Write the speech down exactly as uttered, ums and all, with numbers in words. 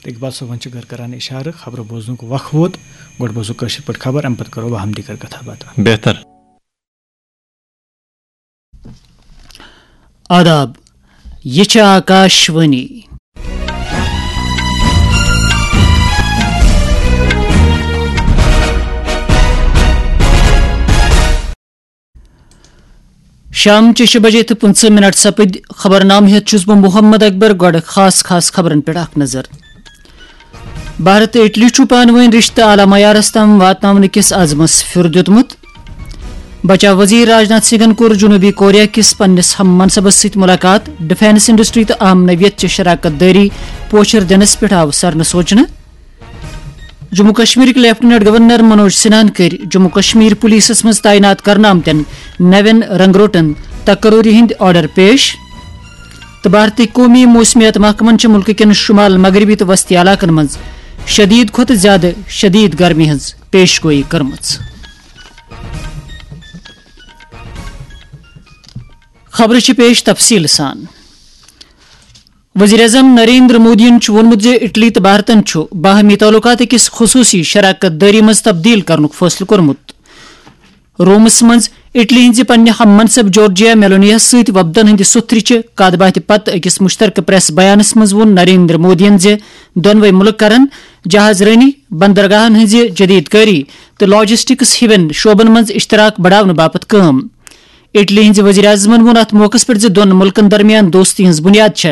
تہٕ اقبال صٲبن چھِ گَر کران اِشارٕ، خبرٕ بوزنُک وق ووت۔ گۄڈٕ بوزو کٲشِر پٲٹھۍ خبر، اَمہِ پتہٕ کرو باہم دیٖگر کتھا باتھا۔ بہتر۔ آداب، یہِ چھِ آکاشوانی۔ شام چہِ شےٚ بجے تہٕ پٕنٛژٕہ منٹ سپٕدۍ۔ خبرنامہٕ ہیٚتھ چھُس بہٕ محمد اکبر۔ گۄڈٕ خاص خاص خبرن پٮ۪ٹھ اکھ نظر۔ بھارت تہٕ اٹلی چھُ پانہٕ وٲنۍ رشتہٕ اعلیٰ معیارس تام واتناونہٕ کِس عزمس پھیُر دیُتمُت۔ بچاو وزیر راجناتھ سنگھن کوٚر جنوبی کوریا کِس پننِس ہم منصبس سۭتۍ ملاقات۔ ڈیفنس انڈسٹری تہٕ اہم نوعیت چہِ شراکت دٲری پوچھر دِنس پٮ۪ٹھ آو سرنہٕ سوچنہٕ۔ جموں کشمیرٕکۍ لیفٹیننٹ گورنر منوج سنہاہن کٔرۍ جموں کشمیر پولیسس منٛز تعینات کرنہٕ آمتٮ۪ن نوٮ۪ن رنگروٹن تقرری ہٕنٛدۍ آرڈر پیش۔ تہٕ بھارتی قومی موسمیات محکمن چھِ مُلکہٕ کٮ۪ن شمال مغربی تہٕ وسطی علاقن منٛز شدید کھۄتہٕ زیادٕ شدید گرمی ہٕنٛز پیش گویی کٔرمٕژ۔ خبرٕ چھِ پیش تفصیٖل سان۔ وزیر اعظم نریندر مودیَن چھُ ووٚنمُت زِ اٹلی تہٕ بھارتَن چھُ باہمی تعلقات أکِس خصوٗصی شراکت دٲری منٛز تبدیل کرنُک فٲصلہٕ کوٚرمُت۔ رومس منٛز اٹلی ہٕنٛزِ پننہِ ہم منصب جورجیا میلونیَس سۭتۍ وفدن ہٕنٛدِ سُتھرِ چہِ کتھ باتھِ پتہٕ أکِس مشترکہٕ پریس بیانس منٛز ووٚن نریندر مودیَن زِ دۄنوَے مُلک کرن جہاز رٲنی، بندرگاہن ہٕنٛزِ جدید کٲری تہٕ لاجسٹکس ہِوٮ۪ن شعبن منٛز اشتراک بڑاونہٕ باپتھ کٲم۔ اٹلی ہٕنٛزِ وزیر اعظمن ووٚن اتھ موقعس پٮ۪ٹھ زِ دۄن مُلکن درمیان دوستی ہٕنٛز بُنیاد چھےٚ